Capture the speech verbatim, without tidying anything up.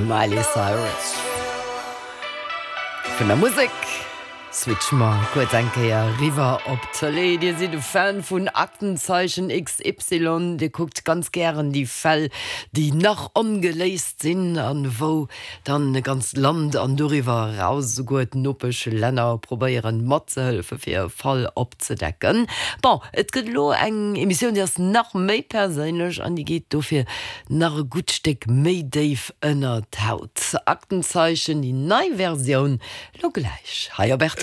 Miley Cyrus. Vun der Musek switche mer kuerz eng Kéier riwwer op d'Tëlee. Dir sidd e Fan vun Aktenzeichen XY, Dir kuckt ganz gären déi Fäll, déi nach ongeléist sinn an wou dann e ganzt Land an doriwwer eraus esouguer d'Nopeschlänner probéieren matzehëllefe fir e Fall opzedecken. Bon, et gëtt elo eng Emissioun, déi ass nach méi perséinlech an déi geet dofir nach e gutt Stéck méi déif ënner d'Haut. Aktenzeichen, déi nei Versioun, lo gläich hei op rtl.